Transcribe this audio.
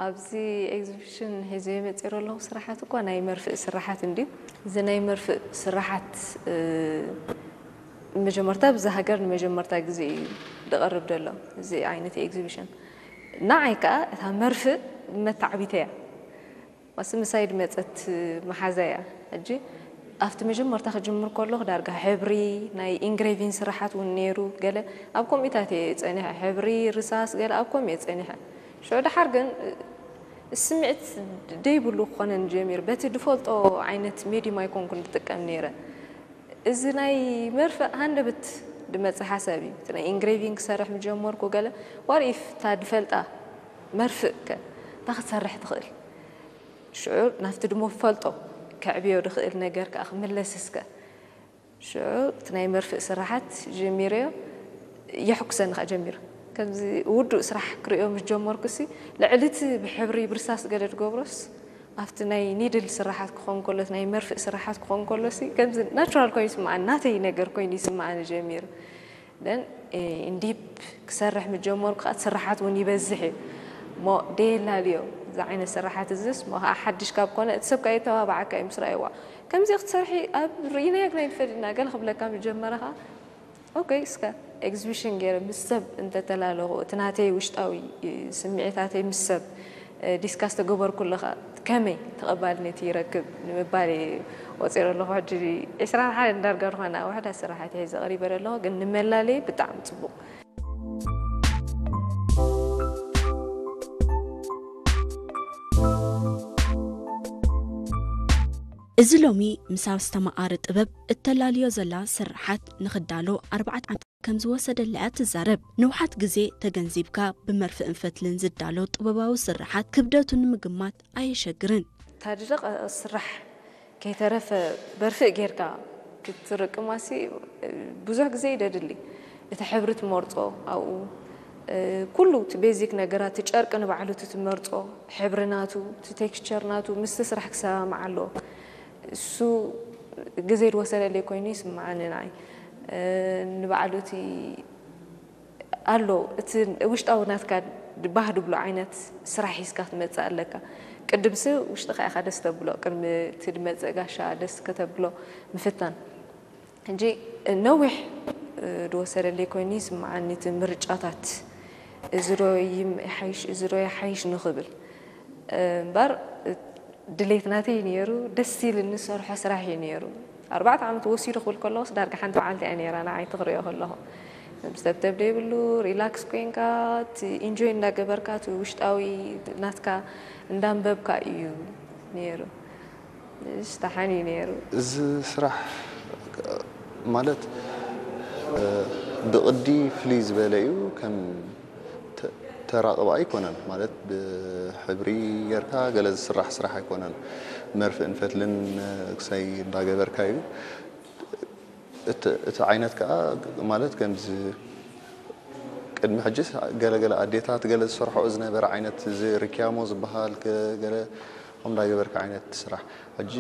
ኣብዚ ኤግዚቢሽን ሒዘዮ መፂረ ኣለኹ ስራሓት እኳ ናይ መርፍእ ስራሓት እንድዩ። እዚ ናይ መርፍእ ስራሓት መጀመርታ ብዛ ሃገር ንመጀመርታ ግዜ እዩ ዝቐርብ ዘሎ እዚ ዓይነት ኤግዚቢሽን። ንዓይ ከዓ እታ መርፍእ መተዓቢተይ እያ። ማስ ምሳይ ድመፀት መሓዛ እያ። ሕጂ ኣብቲ መጀመርታ ክጅምር ከለኹ ዳርጋ ሕብሪ ናይ ኢንግሬቪን ስራሓት እውን ነይሩ። ገለ ኣብ ከምኡታት እየ ፀኒሐ፣ ሕብሪ ርሳስ ገለ ኣብ ከምኡ እየ ፀኒሐ። ሽዑ ደሓር ግን ስምዒት ደይብሉ ክኾነን ጀሚሩ። በቲ ድፈልጦ ዓይነት ሜዲም ኣይኮንኩን ዝጥቀም ነይረ። እዚ ናይ መርፍእ ሃንደበት ድመፅእ ሓሳብ እዩ። እቲ ናይ ኢንግሬቪን ክሰርሕ ምጀመርኩ ገለ ዋር ኢፍ እታ ድፈልጣ መርፍእ ከ እንታይ ክትሰርሕ ትኽእል? ሽዑ ናብቲ ድሞ ፈልጦ ከዕብዮ ድኽእል ነገር ከዓ ክምለስ እስከ። ሽዑ እቲ ናይ መርፍእ ስራሓት ጀሚረዮ የሕኩሰኒ ከዓ ጀሚሩ። ከምዚ ውዱእ ስራሕ ክርእዮ ምስ ጀመርኩ ሲ ልዕሊ እቲ ብሕብሪ ብርሳስ ገለ ዝገብሮስ ኣብቲ ናይ ኒድል ስራሓት ክኾን ከሎ እቲ ናይ መርፍእ ስራሓት ክኾን ከሎ ሲ ከምዚ ናቹራል ኮይኑ ይስምዓኒ፣ ናተይ ነገር ኮይኑ ይስምዓኒ ጀሚሩ። ደን ኢንዲፕ ክሰርሕ ምጀመርኩ ከዓ እቲ ስራሓት እውን ይበዝሕ እዩ እሞ ደየላልዮ እዚ ዓይነት ስራሓት እዝስ እሞ ከዓ ሓድሽ ካብ ኮነ እቲ ሰብ ከዓ የተባብዓካ እዩ ምስ ረኣይዋ ከምዚ ክትሰርሒ ኣብ ርኢናዮ ግና ይንፈልጥና ገለ ክብለካ ምስ ጀመረ ከዓ ኦኬ እስከ ኤግዚቢሽን ገይረ ምስ ሰብ እንተተላለኹ እቲ ናተይ ውሽጣዊ ስምዒታተይ ምስ ሰብ ዲስካስ ተገበርኩ ኣለኻ ከመይ ተቐባልነት ይረክብ ንምባል እየ ወፂረ ኣለኹ። ሕጂ ዒስራን ሓደን ዳርጋ ዝኾና ውሕዳት ስራሓት ሒዘ ቀሪበ ኣለኹ፣ ግን ንመላለይ ብጣዕሚ ፅቡቕ። እዚ ሎሚ ምስ ኣስተማቓሪ ጥበብ እተላልዮ ዘላ ስርሓት ንኽዳሎ ኣርባዕተ ዓመት ከም ዝወሰደላ እያ ትዛረብ። ንውሓት ግዜ ተገንዚብካ ብመርፍእን ፈትልን ዝዳሎ ጥበባዊ ስርሓት ክብደቱ ንምግማት ኣየሸግርን። ታድለ ስራሕ ከይተረፈ በርፍእ ጌርካ ክትርቅማሲ ብዙሕ ግዜ ይደድሊ። እቲ ሕብሪ ትመርጾ ኣብኡ ኩሉ እቲ ቤዚክ ነገራት እቲ ጨርቂ ንባዕሉ እቲ ትመርጾ ሕብሪ ናቱ እቲ ቴክስቸር ናቱ ምስቲ ስራሕ ክሰማማዕ ኣለዎ። እሱ ግዜ ዝወሰደለይ ኮይኑ ይስምዓኒ ንዓይ። ንባዕሉ እቲ ኣሎ እቲ ውሽጣዊ ናትካ ባህ ድብሎ ዓይነት ስራሕ ሒዝካ ክትመፅእ ኣለካ። ቅድምሲ ውሽጥኻ ኢኻ ደስ ተብሎ ቅድሚ እቲ ድመፅእ ጋሻ ደስ ከተብሎ ምፍታን። ሕጂ ነዊሕ ዝወሰደለይ ኮይኑ ይስምዓኒ እቲ ምርጫታት እዚ ዶ ይሓይሽ እዚ ዶ ይሓይሽ ንኽብል እምበር ድሌት ናተይ ነይሩ ደስ ኢልኒ ዝሰርሖ ስራሕ እዩ ነይሩ። ኣርባዕተ ዓመት ወሲዱ ክብል ከለኹስ ዳርጋ ሓንቲ መዓልቲ እያ ነይራ ንዓይ እቲ ክሪኦ ከለኹ። ሰብ ተብተብ ዘይብሉ ሪላክስ ኮይንካ እቲ ኢንጆይ እንዳገበርካ እቲ ውሽጣዊ ናትካ እንዳንበብካ እዩ ነይሩ። እሽ ተሓን እዩ ነይሩ። እዚ ስራሕ ማለት ብቕዲ ፍልይ ዝበለ እዩ ከም ተራቕባ ኣይኮነን ማለት ብሕብሪ ጌርካ ገለ ዝስራሕ ስራሕ ኣይኮነን። መርፍእን ፈትልን ክሳይ እንዳገበርካ እዩ። እቲ ዓይነት ከዓ ማለት ከምዚ ቅድሚ ሕጂ ገለገለ ኣዴታት ገለ ዝሰርሖኦ ዝነበረ ዓይነት እዚ ርክያሞ ዝበሃል ገለ ከም እንዳገበርካ ዓይነት ስራሕ ሕጂ